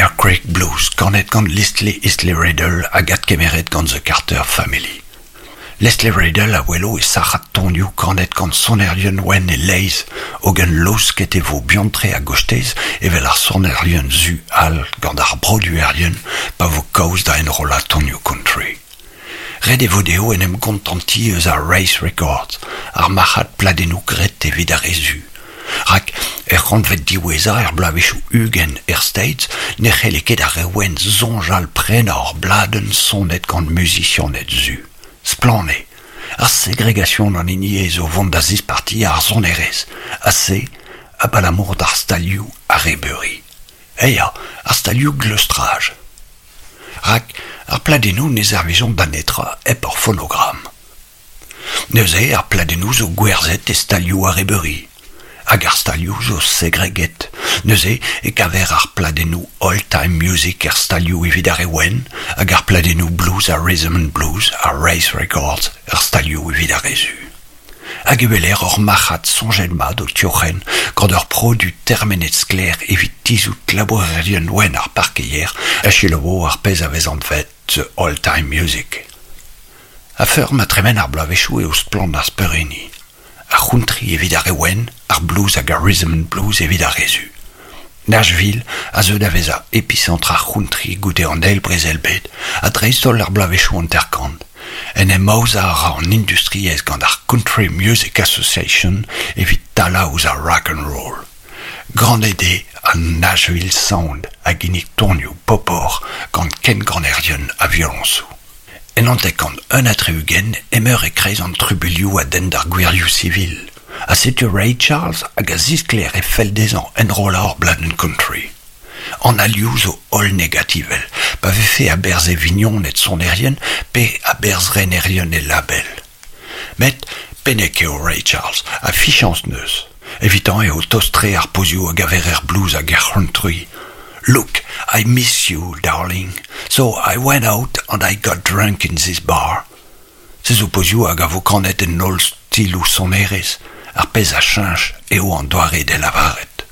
Bear Creek Blues, kanet gant Leslie Eastley Riddle hag adkemeret gant The Carter Family. Leslie Riddle a welo e sac'had tonioù kanet gant sonerien wenn e-leizh, hogen laosket e vo buan-tre a-gostez evel ar sonerien zu all gant ar broduerien pa vo kaoz da enrollañ tonioù country. Ret e vo dezho en em gontantiñ eus ar Race Records, ar marc'had pladennoù graet evit ar re zu. Rak er c'hantved diwezhañ er bloavezhioù 20 er States ne c'helle ket ar re wenn soñjal prenañ ur bladenn sonet gant muzisianed zu. Splann eo, ar segregasion an hini eo zo vont da zispartiañ ar sonerezh, ha se abalamour d'ar stalioù arrebeuri. Eh ya, ar stalioù gleustraj. Rak ar pladennoù ne servijont da netra hep ur fonogram. Neuze ar pladennoù zo gwerzhet e stalioù arrebeuri. Hag ar stalioù zo segreget. Neuze e kaver ar pladennoù old-time music er stalioù evit ar re wenn, hag ar pladennoù blues ha rhythm and blues ha race records er stalioù evit ar re zu. Hag e weler ur marc'had soñjet-mat o tiorren gant ur produ termenet sklaer evit tizhout labourerien wenn ar parkeier a selaouo ar pezh a vez anvet the old-time music. A-feur ma tremen ar bloavezhioù eo splann ar speurenniñ. Ar c'hountry evit ar re wenn, ar blues hag ar rhythm and blues evit ar re zu. Nashville a zeu da vezañ episentr ar c'hountry goude an Eil Brezel-bed ha dreist-holl ar bloavezhioù 50. En em aozañ a ra an industriezh gant ar Country Music Association evit talañ ouzh ar rock and roll. Ganet eo an Nashville Sound a ginnig tonioù popoc'h gant kenganerien ha violoñsoù. En 1961 emeur e-kreiz an trubuilhoù a denn d'ar gwirioù sivil, ha setu Ray Charles hag a zisklêr e fell dezhañ enrollañ ur bladenn country. An alioù zo holl negativel, pa vefe a-berzh e vignoned sonerien pe a-berzh renerien e label. Met pennek eo Ray Charles ha fichañs 'neus. Evitañ eo tost-tre ar pozioù a gaver er blues hag er c'hountry. Look, I miss you, darling, so I went out and I got drunk in this bar. Se zo pozioù hag a vo kanet en holl stiloù sonerezh, ar pezh a cheñch eo an doare d'e lavaret.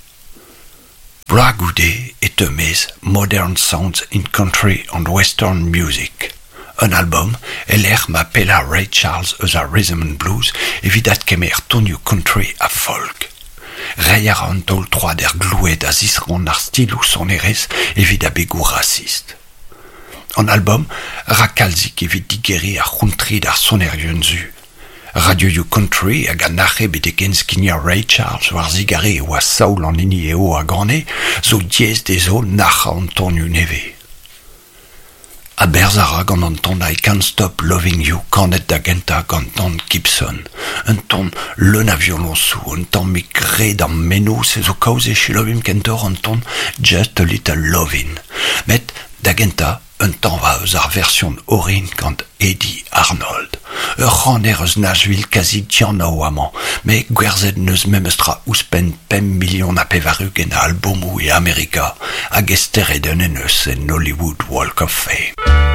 Bloaz goude e teu maez Modern Sounds in Country and Western Music, un album e-lec'h ma pella Ray Charles eus ar rhythm and blues evit adkemer tonioù country ha folk. Reiñ a ra an taol troad er gloued a zisrann ar stiloù sonerezh evit abegoù rasist. An album a ra kalzik evit digeriñ ar c'hountry d'ar sonerien zu. Radioioù country hag a nac'he betek enskignañ Ray Charles war zigarez e oa Saoul an hini eo a gane zo diaes dezho nac'hañ an tonioù nevez. A-berzh a ra gant an ton I Can't Stop Loving You kanet da gentañ gant Don Gibson, un ton leun a violoñsoù, un tammig re d'am meno se zo kaoz e selaouimp kentoc'h an ton Just a Little Lovin'. Met da gentañ un tañva eus ar version orin gant Eddie Arnold. Ur c'haner eus Nashville kazi dianav amañ, met gwerzhet n'eus memestra ouzhpenn 5 million ha 80 a albomoù e Amerika hag e steredenn en eus en Hollywood Walk of Fame.